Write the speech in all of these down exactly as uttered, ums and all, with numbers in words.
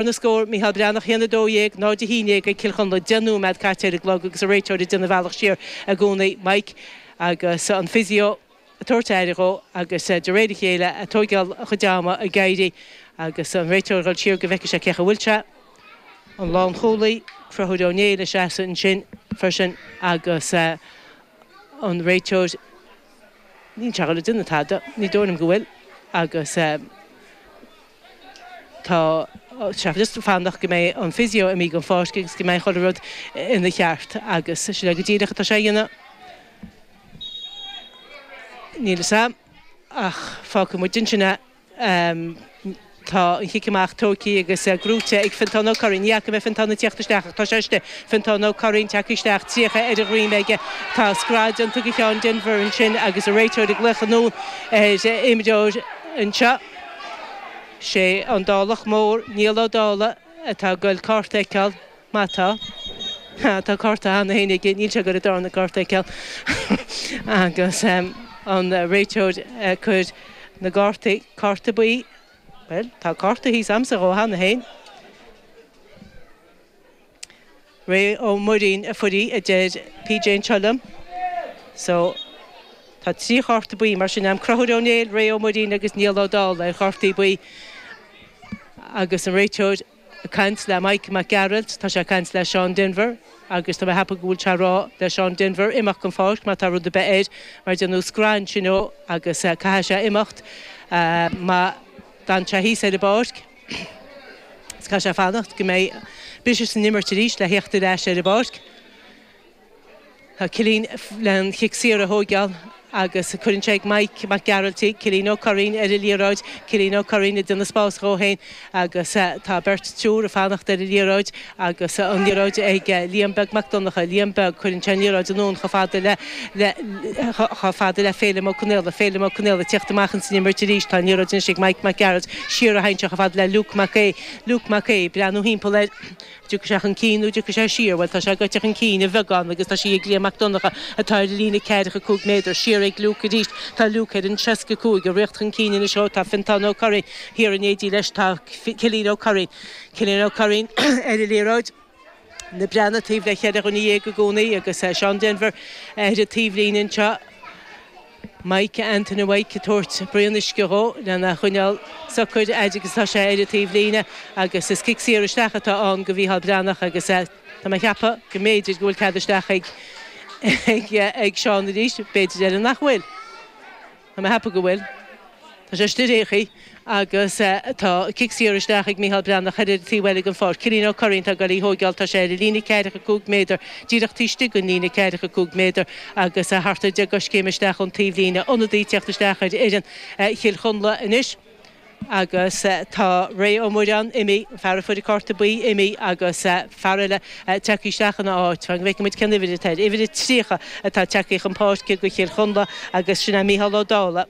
Na scór Micheál Breathnach haon a dó dhéag, náid a haon déag ag Cill Chonla deich nóiméad caite ar an gclog agus an réiteoir ag déanamh a bhealach siar i gcónaí Mike agus an physio ag tabhairt aire dhó agus de réir a chéile ag tógáil a chuid ama ag éirí agus an réiteoir ag dul siar go bhfeicfidh sé cé chaoi a bhfuil sé. An lánchúlaí Conchúr Ó Néill ag seasamh ansin freisin agus an réiteoir níl sé ag déanamh tada, ní dóigh liom go bhfuil agus tá sé just fanacht go mbeidh an physio imithe den pháirc agus go mbeidh chuile rud ina cheart agus sin go díreach atá sé a dhéanamh. Níl a fhios agam ach fágfaidh muid ansin é. Tá an chic amach tógtha agus gnóite ag Fintán Ó Curraoin. Ní fhaca mé Fintán ag tíocht isteach ach tá sé istigh. Fintán Ó Curraoin tagtha isteach, tríocha ar a dhroim aige. Tá scread déanta de Sheán Denver ansin agus an réiteoir ag glaoch anonn ar imreoir anseo. Sé an Dálach Mór, Niall Ó Dálaigh, atá ag goil cárta a fheiceáil, má tá. Tá cárta cheana féin aige, níl sé ag goil an darna cárta a fheiceáil. Agus an réiteoir ag cur na gcártaí, cárta buí, bhuel, tá cárta thíos a'msa dhó cheana féin. Ray Ó Muirín a fuair í, a deir PJ anseo liom. So, tá trí chárta buí mar sin a'm, Conchúr Ó Néill, Ray Ó Muirín agus Niall Ó Dálaigh ar chártaí buí. Agus an réiteoir ag caint le Mike Mac Gearailt, tá sé ag caint le Seán Denver agus tá mé ag ceapadh go bhfuil sé ag rá le Seán Denver imeacht den pháirc má tá rud ar bith air mar déanadh scread ansin dhó agus caithfidh sé imeacht má d'fhan sé thíos ar an bpáirc. Is caithfidh sé fanacht go mbeidh briseadh san imirt arís le theacht ar ais ar an bpáirc. Tá Cillian le an chic saor a thóigeáil agus cuireann sé ag Mike Mac Gearailt í, Cillian Ó Curraoin ar an liathróid, Cillian Ó Curraoin ag déanamh spás dhó féin agus tá beirt triúr ag fanacht ar an liathróid agus an liathróid ag Liam Beag Mac Donncha, Liam Beag, cuireann sé an liathróid anonn chomh fada le le chomh fada le Féilim Ó Conaola, Féilim Ó Conaola ag tíocht amach ins an imirt arís, tá an liathróid anois ag Mike Mac Gearailt, siar a théann sé chomh fada le Luke Mac Aodha, Luke Mac Aodha, breathnú thimpeall air. Dtiocfaidh sé chun cinn nó dtiocfaidh sé siar? Bhuel, tá sé gaibhte chun cinn a bheagán agus tá sí ag Liam Mac Donncha atá ar an líne ceathracha cúig méadar. Siar ag Luke arís. Tá Luke ar an seasca cúig, ag rith chun cinn anois. Ó, tá Fintán Ó Curraoin thiar in éindí leis. Tá Cillian Ó Curraoin. Cillian Ó Curraoin ar an liathróid. Na Breathnaigh taobh le cheithre dhuine dhéag i gcónaí agus Seán Denver ar an taobhlíne anseo. Mike Anthony Mhaidhc ag tabhairt braon uisce dhó lena choinneáil socair fhad agus atá sé ar an taobhlíne agus is cic saor isteach atá ann go Mhícheál Breathnach agus tá mé ag ceapadh go mb'fhéidir go bhfuil cead isteach ag ag Seán arís, b'fhéidir eile nach bhfuil. Tá mé ag ceapadh go bhfuil. Tá sé istigh ar aon chaoi agus tá cic saor isteach ag Micheál Breathnach ar an taobh eile den pháirc. Cillian Ó Curraoin atá ag goil í thóigeáil. Tá sé ar an líne ceathracha cúig méadar, díreach taobh istigh den líne ceathracha cúig méadar agus thart ar deich gcoiscéim isteach ón taobhlíne. Ionadaí ag teacht isteach ar fhoireann Chill Chonla anois agus tá Ray Ó Muireáin imithe, an fear a fuair an cárta buí imithe agus fear eile tagtha isteach ina áit. Fan go bhfeicfidh muid cén uimhir atá air. Uimhir a tríocha atá tagtha chun páirce do Chill Chonla agus sin é Micheál Ó Dálaigh.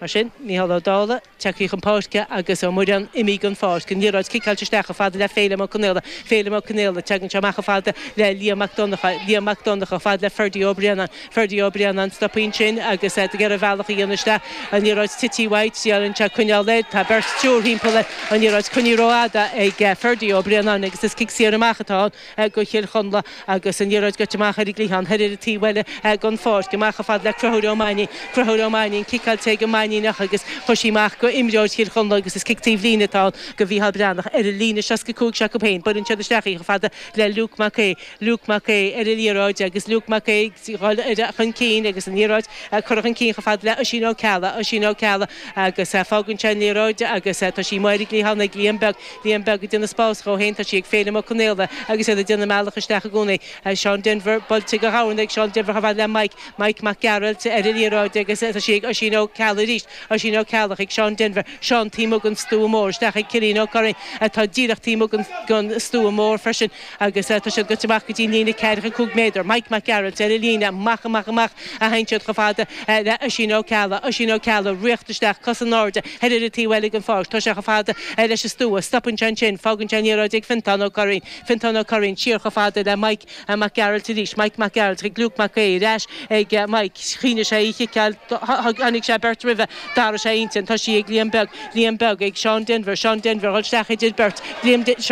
Mar sin, Micheál Ó Dálaigh tagtha chun páirce agus Ó Muireáin imithe den pháirc. An liathróid ciceáilte isteach chomh fada le Féilim Ó Conaola. Féilim Ó Conaola, tagann sé amach chomh fada le Liam Mac Donncha. Liam Mac Donncha chomh fada le Ferdie Ó Braonáin. Ferdie Ó Braonáin stoptha ansin agus é ag iarraidh a bhealach a dhéanamh isteach. An liathróid tite uaidh, triaileann sé coinneáil air. Tá beirt, triúr thimpeall air. An liathróid coinnithe rófhada ag Ferdie Ó Braonáin agus is cic saor amach atá ann do Chill Chonla agus an liathróid gaibhte amach ar an gcliathán thoir ar an taobh eile den pháirc. Amach chomh fada le Conchúr Ó Mainnín. Conchúr Ó Mainnín, ciceáilte ag an Mainníneach agus chuir sí amach go imreoir Chill Chonla agus is cic taobh líne atá ann go Mhícheál Breathnach ar an líne seasca cúig s'acu féin. Buaileann siad isteach í chomh fada le Luke Mac Aodha. Luke Mac Aodha ar an liathróid agus Luke Mac Aodha ag dul chun cinn agus an liathróid curtha chun cinn chomh fada le Oisín Ó Ceallaigh. Oisín Ó Ceallaigh agus fágann sé an liathróid agus tá sí amuigh ar an gcliathán ag Liam Beag. Liam Beag ag déanamh spás dhó féin, tá sí ag Féilim Ó Conaola agus iad ag déanamh a mbealach isteach i gcónaí. Seán Denver buailte go dhomhain ag Seán Denver chomh fada le Mike, Mike Mac Gearailt ar an liathróid agus tá sí ag Oisín Ó Ceallaigh arís. Oisín Ó Ceallaigh ag Seán Denver, Seán taobh amuigh den stua mór, isteach ag Cillian Ó Curraoin atá díreach taobh amuigh den stua mór freisin agus tá siad gaibhte amach go dtí an líne ceathracha cúig méadar. Mike Mac Gearailt ar an líne, amach, amach, amach a théann siad chomh fada le Oisín Ó Ceallaigh. Oisín Ó Ceallaigh, riocht isteach, cos in airde, thoir ar an taobh eile den pháirc. Tá sé chomh fada leis an stua. Stopann sé ansin. Fágann sé an liathróid ag Fintán Ó Curraoin. Fintán Ó Curraoin siar chomh fada le Mike Mac Gearailt arís. Mike Mac Gearailt chuig Luke Mac Aodha. Ar ais ag Mike. Choinnigh sé í chiceáil. Tháinig sé beirt roimhe. Gaillimhe Dara sé intin tá sí ag Liam Beag Liam Beag ag Sean Denver Sean Denver isteach idir beirt Liam Sean